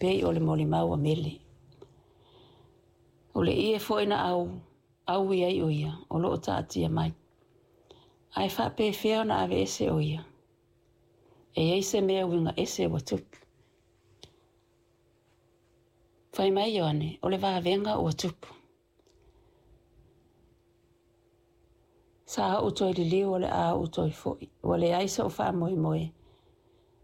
pei o le molimau a Mele. O le ie foi na aui ai o ia, o loo taatia mai. Ae faapefea ona aveese o ia? E i ai se mea uiga ese ua tupu. Fai mai Ioane, o le vavega ua tupu. Sa ou toe liliu o le a ou toe foi. Ua leai so'u faamoemoe.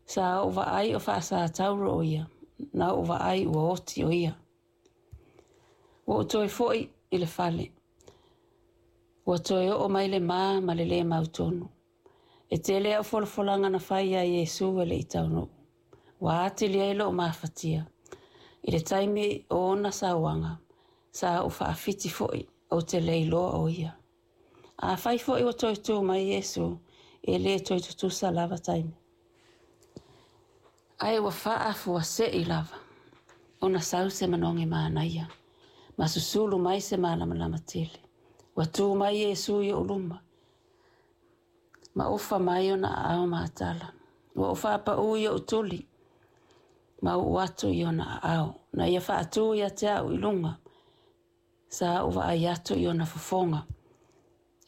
Sa ou vaai o faasatauro o ia, na ou vaai ua oti o ia. Ua ou toe foi i le fale. Ua toe oo mai le ma ma le lē mautonu. E tele au folafolaga na fai ia Iesu e le i taunuu. Ua atili ai lou mafatia. I le taimi o ona sauaga, sa ou faafiti foi ou te le iloa o ia. Afai foi ua toe tu mai Iesu, e lē toe tutusa lava taimi. Ae ua faafuasei lava ona sau se manogi manaia, ma susulu mai se malamalama tele. Ua tu mai Iesu i ou luma, ma ofa mai ona aao matala. Ua ou faapaū i ou tuli, ma uu atu i ona aao. Na ia faatū ia te au i luga, sa ou vaai atu i ona fofoga,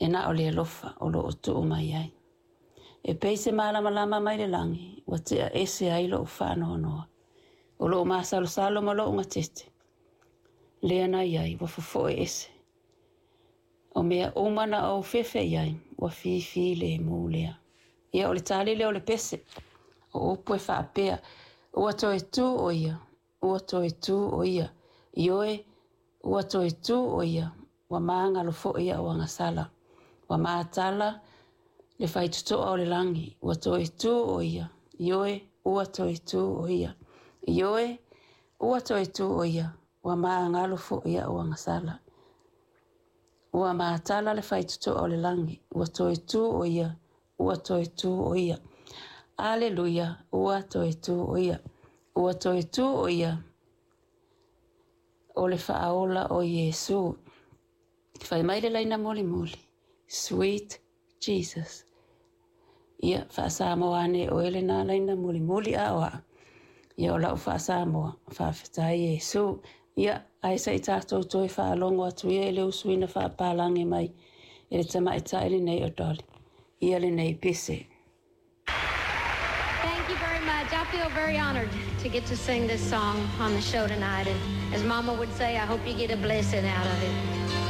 e na o le alofa o loo tuu mai ai. E pei se malamalama mai le lagi, ua tea ese ai lou faanoanoa. O loo masalosalo ma lou gatete, lea na iai ua fofoe ese. O mea uma na ou fefe i ai, ua fifilemu lea. Ia o le tali lea o le pese. O upu e faapea, ua toe tu o ia, ua toe tu o ia. Ioe, ua toe tu o ia, ua magalo foi au agasala. Ua matala le faitotoa o le lagi, ua toe tu o ia. Ioe, ua toe tu o ia. Ioe, ua toe tu o ia, ua magalo foi au agasala. Ua matala le faitotoa o le lagi, ua toe tu o ia, ua toe tu o ia. Aleluia, ua toe tu o ia. Ua toe tu o ia, o le faaola o Iesu. Fai mai le laina mulimuli, Sweet Jesus. Ia, faa-Samoa ane oe lena laina mulimuli a o aa. Ia o lau faa-Samoa, faafetai Iesu. Ia, ae se i tatou toe faalogo atu ia i le usuina faapalagi mai e le tamaitai lenei o Dolly. Ia lenei pese. Thank you very much. I feel very honored to get to sing this song on the show tonight. And as Mama would say, I hope you get a blessing out of it.